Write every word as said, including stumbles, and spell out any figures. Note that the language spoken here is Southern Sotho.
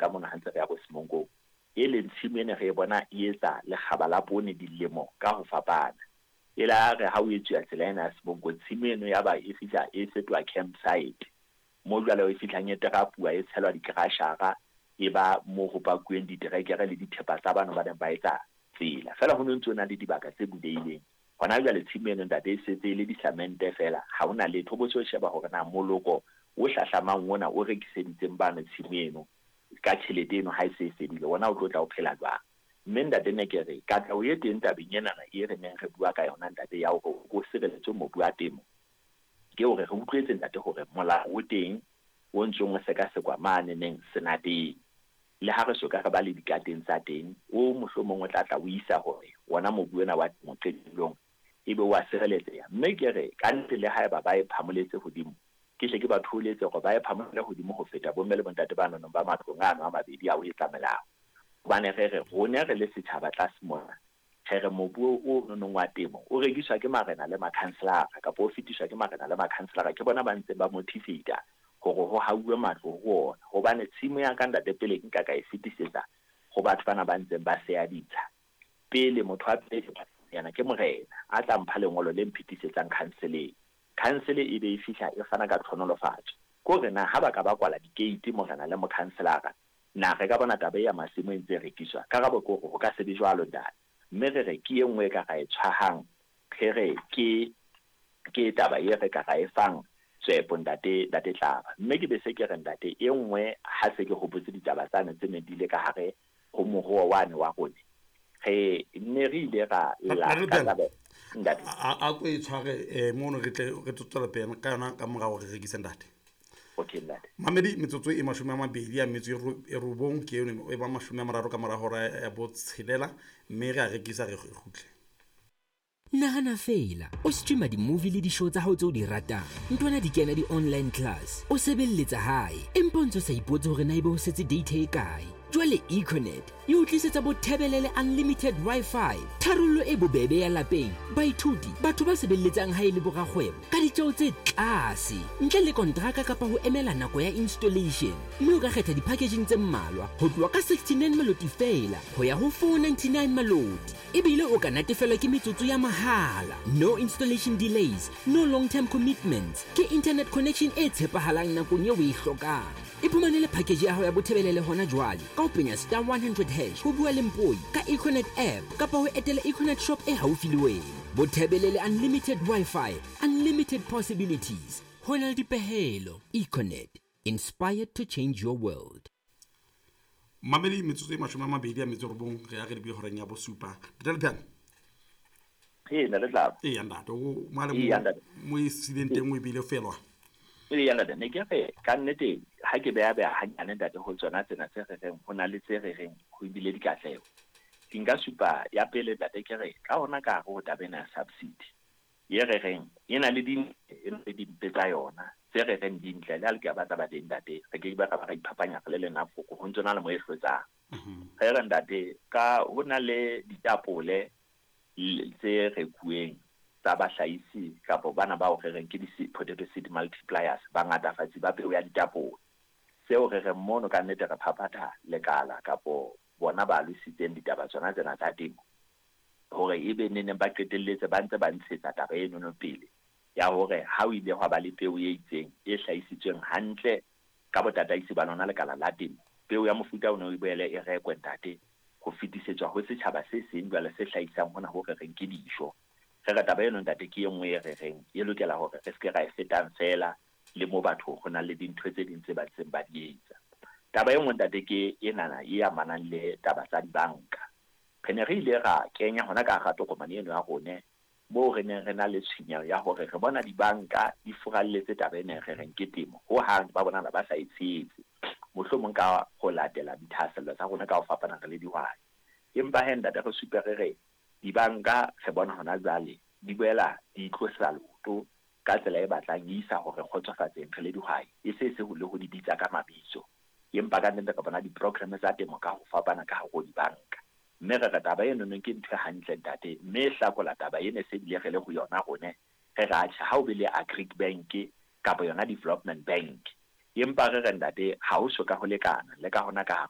Ka mona ha ntse re ya bo Semonkong, e leng tshimo ene re e bona e etsa lekgaba la poone dilemo ka ho fapana. E la re ha o etsuwa tsela ena ya Semonkong, tshimo eno ya ba e fihla e fetoha campsite, mo jwale e fihlang e terapuwa, e tshelwa dikrashara, e ba mo ho pakuweng diterekere le dithepa tsa bano ba neng ba etsa tsela. Feela ho no ntso na le dibaka tse bulehileng. Hona jwale tshimo eno, ntate, e setse e le disamente feela, ha hona letho. Bo se sheba hore na moloko o hlahlamang ona o rekiseditseng bano tshimo eno ka tjhelete eno ha e se e fedile, wona o tlo tla o phela jwang? Mme ntate, ne ke re katleho e teng tabeng enana e re neng re bua ka yona, ntate, ya hore o sireletswe mobu wa temo, ke hore re utlwetse, ntate, hore molao o teng o ntsong o sekasekwa mane neng senateng. Le ha re soka re ba le dikateng tsa teng, o mohlomong o tla tla o isa hore wona mobu ona wa temo qetellong ebe wa sireletseha. Mme ke re ka nnete, le haeba ba e phamoletse hodimo, ke hle ke ba thoholetse hore ba e phamolele hodimo ho feta bomme le bontate ba nonong ba matlong ano a mabedi ao e tlamelang. Hobane re re rone re le setjhaba tlase mona, re re mobu o nonong wa temo o rekiswa ke marena le makhanselara, kapa o fetiswa ke marena le makhanselara, ke bona ba ntseng ba motivate hore ho hauwe matlo ho ona. Hobane tshimo ya ka, ntate, pele nka ka e fetisetsa ho batho bana ba ntseng ba seya ditsha, pele motho wa pele yana ke morena a tla mpha lengolo le mphetisetsang khanseleng. Khansele e be e fihla e fana ka tlhonolofatso. Ko re na ha ba ka ba kwala dikeiti, morena le mokhanselara, na re ka bona taba ya masimo e ntse e rekiswa? Karabo ke hore ho ka se be jwalo, ntate. Mme re re ke e nngwe e ka ra e tshwahang, re re ke ke taba e re ka ra e fang tswepo, ntate, ntate Tlaba. Mme ke be se ke re, ntate, e nngwe ha se ke hopotse ditaba tsane tse neng di ile ka hare ho moruo wane wa rone, re ne re ile ra lla ka taba, ntate. A ko e tshware um mono, re tle re tlo tswela pele ka yona ka morao re rekise, ntate. Okay, ntate. Mamedi, metsotso e mashome a mabedi a metso e robong ke yone e ba mashome a mararo ka mora hora ya botshelela, mme re a rekisa, re kgutle. Nahana fela o streama di-movie le di-show tsa hao tse o di ratang, ntwana di kena di-online class, o sebelletsa hae, empa o ntse o sa ipotse hore na ebe ho setse data e kae. Jwale Econet e o tlisetsa Bothebelele Unlimited Wi-Fi, tharollo e bobebe ya lapeng, baithuti, batho ba sebelletsang hae le borakgwebo, ka ditjeo tse tlase, ntle le kontraka kapa ho emela nako ya installation. Mme o ka kgetha di-packaging tse mmalwa ho tloha ka sixty-nine maloti feela ho ya ho four ninety-nine maloti, ebile o ka natefelwa ke metsotso ya mahala. No installation delays, no long term commitments, ke internet connection e tshepahalang nakong eo o e hlokang. Iphumanele package ya hao ya Bothebelele hona jwale ka ho penya star one hundred hash, ho bua le mpoi ka Econet app, kapa ho etela Econet shop e haufi le wena. Bothebelele Unlimited Wi-Fi, unlimited possibilities. Ho na le dipehelo. Econet, inspired to change your world. Mamedi, metsotso e mashome a mabedi a metso e robong re ya re lebile horeng ya bosupa, ntate Lepheane. Ee, ntate Tlaba. Ee, ntate, o male Ee, ntate. mo e sileng teng o ebile felwa. Ee, ntate, ne ke re ka nnete ha ke beha beha hanyane, ntate, ho tsona tsena tse re reng ho na le tse re reng ho ebile dikatleho, ke nka supa ya pele, ntate. Ke re ka hona ka hare ho taba ena ya subsidy e re reng e na le dintle, e na le dimpe tsa yona. Tse re reng dintle, le ha le ke ba taba teng, ntate, re ke ba ra ba ra iphapanya re le lenafoko, ho ntso na le mo e hlotsang. Re re, ntate, ka ho na le ditapole tse rekuweng tsa bahlahisi kapa bana bao re reng ke di-potato seed multipliers, bangatafatsi ba peo ya ditapole. Seo re reng mono ka nnete re phaphatha lekala kapo bona ba lositseng ditaba tsona tsena tsa temo, hore ebe neneng ba qetelletse ba ntse ba ntshetsa taba enono pele ya hore ha o ile hwa ba le peo e itseng e hlahisitsweng hantle ka botataisi ba lona lekala la temo, peo ya mofuta o ne o boele e rekwe, ntate, ho fetisetswa ho setjhaba se seng jwale se hlahisang hona ho re reng ke dijo. Re re taba eno, ntate, ke e nngwe e re reng e lokela hore re seke ra e fetang feela le mo batho ho na le dintho tse ding tse ba ntseng ba di etsa. Taba e nngwe, ntate, ke enana e amanang le taba tsa dibanka. Re ne re ile ra kenya hona ka hara tokomane eno ya rone moo re neng re na le tshwenyeho ya hore re bona dibanka di furalletse taba ena e re reng ke temo, hohang ba bonahala ba sa e tshehetse, mohlomong ka ho latela dithahasello tsa rona ka ho fapana re le dihwai. Empa he, ntate, re supe re re dibanka re bona hona jwale di boela di tlosa leoto ka tsela e batlang e isa hore kgotsofatseng re le dihwai, e se se ho le ho di bitsa ka mabitso, empa ka nnete re bona di-program tsa temo ka ho fapana ka hare ho dibanka. Mme re re taba enono ke ntho e hantle, ntate, mme e hlakola taba ena se bile re le ho yona rone re re atjhe, ha o be le Agric Bank kapa yona Development Bank Empa re re ntate, ha ho so ka ho lekana le ka hona ka hare